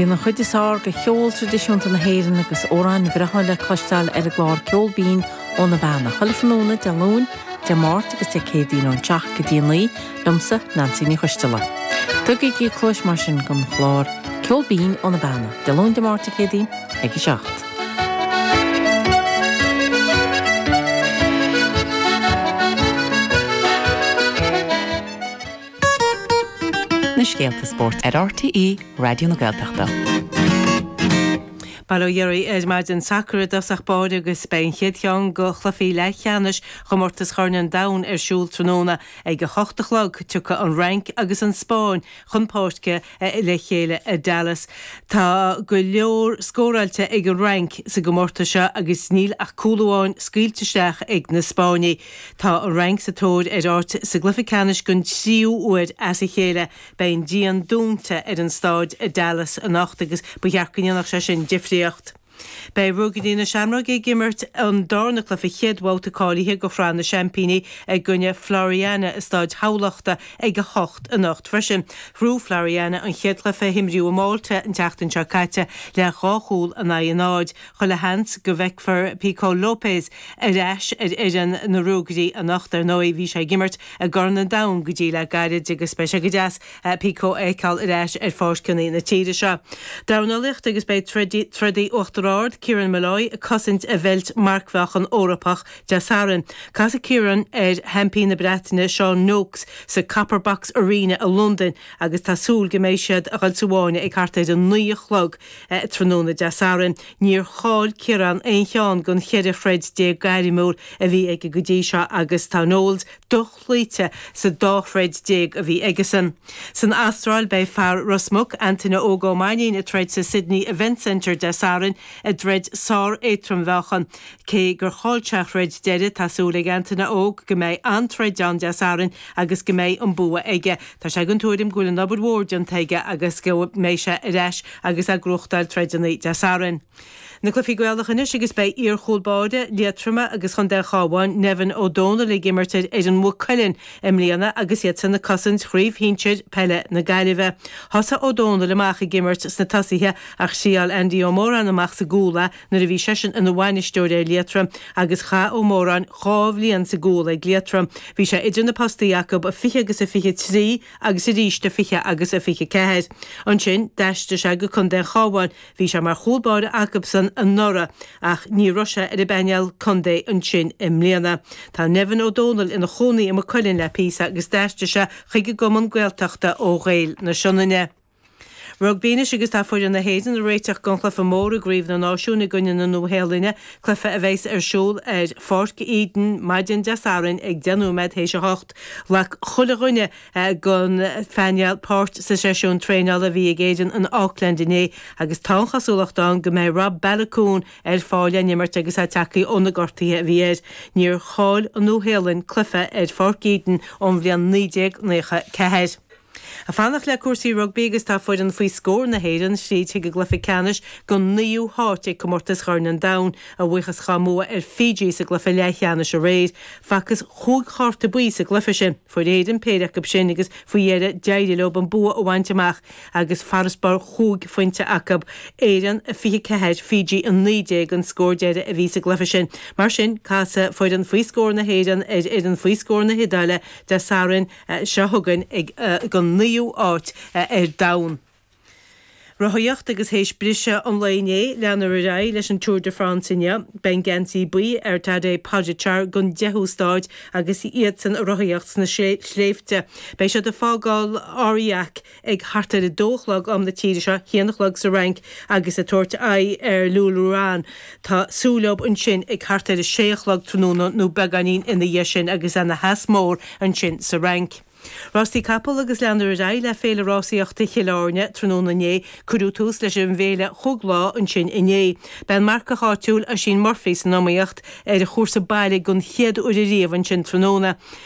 Bíonn an chuid is fearr de cheol traidisiúnta na hÉireann agus amhráin bhreátha le cloisteáil ar an gclár Ceol Binn ó na Beanna, chuile thráthnóna Dé Luain, Dé Máirt agus Dé Céadaoin ón 7 go dtí 9, liomsa, Neansaí Ní Choisteala. Tugaigí cluais mar sin don chlár Ceol Binn ó na Beanna, Dé Luain, Dé Máirt, Dé Céadaoin ag 7. Na scéalta spóirt ar RTÉ Raidió na Gaeltachta. Bail ó Dhia oraibh ar maidin. Sacar i dtosach báire agus beidh an chéad cheann de chluichí leathcheannais Chomórtas Chorn an Domhain ar siúl tráthnóna ag 8 a chlog. Tiocfaidh an Fhrainc agus an Spáinn chun páirce le chéile i Dallas. Tá go leor scóráilte ag an Fhrainc sa gcomórtas seo agus níl ach cúl amháin scaoilte isteach ag na Spáinnigh. Tá an Fhrainc sa tóir ar áit sa gcluiche ceannais don tríú huair as a chéile. Beidh an díon dúnta ar an stáid i Dallas anocht agus ba cheart go ndéanfadh sé sin difríocht. Beidh Ruagairí na Seamróige ag imirt an darna cluiche chéad bhabhta cáilithe do Shraith na Seaimpíní i gcoinne Floriana i Stáid Thamhlachta ag 8 anocht freisin. Ghnóthaigh Floriana an chéad chluiche a himríodh i Malta an tseachtain seo caite le dhá chúl in aghaidh a náid. Chuile sheans go bhfeicfear Pico Lopes ar ais ar fhoireann na Ruagairí anocht. Ar ndóigh, bhí sé ag imirt i gCorn an Domhain go dtí le gairid agus beidh sé go deas Pico a fheiceáil ar ais ar pháirceanna na tíre seo. Dornálaíocht agus beidh trodaí Uachtar Ard, Kieran Molloy, ag cosaint a bheilt marcmheáchan Eorpach Dé Sathairn. Casfaidh Kieran ar sheaimpín na Breataine Sean Noakes sa Copper Box Arena i Londain agus tá súil go mbeidh siad a dhul sa bhfáinne ag thart ar a 9 a chlog tráthnóna Dé Sathairn. Níor chaill Ciarán aon cheann den 14 throid gairmiúil a bhí aige go dtí seo agus tá Knowles dochloíte sa dá throid a bhí aigesan. San Astráil beidh fear Ros Muc, Antaine Óg Ó Mainnín ag troid sa Sydney Event Centre Dé Sathairn i dtroid sár-éadrom-mheáchan. Cé gur chaill sé a throid deiridh, tá súil ag Antaine Óg go mbeidh an-troid ann Dé Sathairn agus go mbeidh an bua aige. Tá sé den tuairim go bhfuil an obair mhór déanta aige agus go mbeidh sé ar ais agus ag gnóthachtáil troideanna Dé Sathairn. Na cluichí Gaelacha anois agus beidh iar-chúl báire Liatroma agus Chontae an Chabháin, Nevin Ó Dónaill ag imirt ar fhoireann Mhaigh Cuilinn i mbliana agus iadsan ag cosaint Chraobh Shinsir Peile na Gaillimhe. Thosaigh Ó Dónaill amach ag imirt sna tosaithe ach thriáil Andy Ó Móráin amach sa gcúl é nuair a bhí seisean ina bhainisteoir ar Liatroim agus chaith Ó Móráin 2 bhliain sa gcúl ag Liatroim. Bhí sé idir na postaí acu i 20 agus i 23 agus arís i 20 agus i 24. Ansin d'aistrigh sé go Contae an Chabháin. Bhí sé mar chúl báire acubsan anuraidh ach ní raibh sé ar an bpainéal contae ansin i mbliana. Tá Nevin Ó Dónaill ina chónaí i Maigh Cuilinn le píosa agus d'aistrigh sé chuig an gcumann Gaeltachta ó Ghaeil na Sionainne. Rugbaí anois agus tá foireann na hÉireann ag réiteach don chluiche mór i gCraobh na Náisiún i gcoinne na Nua-Shéalainne, cluiche a bheas ar siúl ar Pháirc Eden maidin Dé Sathairn ag 10 nóiméad théis 8. Ghlac chuile dhuine den phainéal páirt sa seisiún traenála a bhí ag Éirinn in Auckland inné agus tá an chosúlacht ann go mbeidh Rob Baloucoune ar fáil le n-imirt agus é tagtha ó na gortuithe a bhí air. Níor chaill an Nua-Shéalainn cluiche ar Pháirc Eden ón bhliain 1994. Ag fanacht le cúrsaí rugbaí agus tá foireann faoi scór na hÉireann thríd chuig an gcluiche ceannais don naoú háit ag Comórtas Chorn an Domhain, a bhuíochas dhá mbua ar Fiji sa gcluiche leathcheannais aréir. Facthas chúig chárta buí sa gcluiche sin. Fuair Éirinn péire acu sin agus faoi dheireadh d'éirigh leo an bua a bhaint amach agus farasbarr chúig phointe acu. Éireann 24, Fiji 19 an scór deiridh a bhí sa gcluiche sin. Mar sin, casfaidh foireann faoi scór na hÉireann ar fhoireann faoi scór na hIodáile Dé Sathairn seo chugainn ag don naoú háit ar domhan. Rothaíocht agus théis briseadh an lae inné, leanfar ar aghaidh leis an Tour de France inniu. Beidh an geansaí buí ar Tadej Pogačar don deichiú staid agus iadsan ag rothaíocht sna sléibhte. Beidh siad ag fágáil Aurillac ag thart ar a dó a chlog am na tíre seo, haon a chlog sa Fhrainc, agus ag tabhairt aghaidh ar Lourmarin. Tá súil leo ansin ag thart ar a sé a chlog tráthnóna nó beagáinín ina dhiaidh sin agus ana theas mór ansin sa Fhrainc. Rásaí capall agus leanfar ar aghaidh le Féile Rásaíochta Chill Airne tráthnóna inné. Cuireadh tús leis an bhféile chúig lá ansin inné. Beidh an marcach áitiúil Oisín Murphy san iomaíocht ar a chúrsa baile den chéad uair ariamh ansin tráthnóna.